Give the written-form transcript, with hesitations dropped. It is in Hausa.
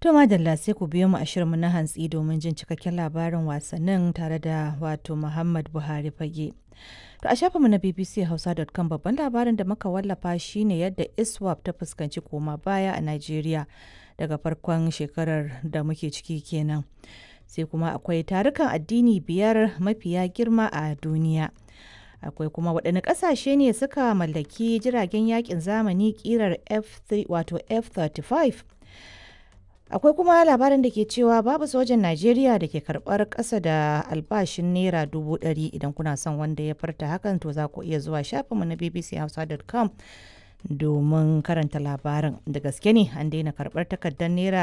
To madalla, sai ku biyo mu a shirinmu na hantsi domin jin cikakken labarin wasannin tare da wato Muhammad Buhari Fage. To a shafinmu na bbchausa.com, babban labarin da muka wallafa shine yadda ISWAP ta fuskanci koma baya a Najeriya daga farkon shekarar da muke ciki kenan. Sai kuma akwai tarukan addini biyar mafiya girma a duniya. Akwai kuma waɗanne ƙasashe ne suka mallaki jiragen yakin zamani ƙirar F3, wato F-35. Akwai kuma labarin da ke cewa babu sojan Najeriya da ke karɓar ƙasa da albashin naira 100,000. Idan kuna son wanda ya farta hakan, to za ku iya zuwa shafinmu na bbchausa.com domin karanta labarin. Da gaske ne an daina karɓar takardar naira?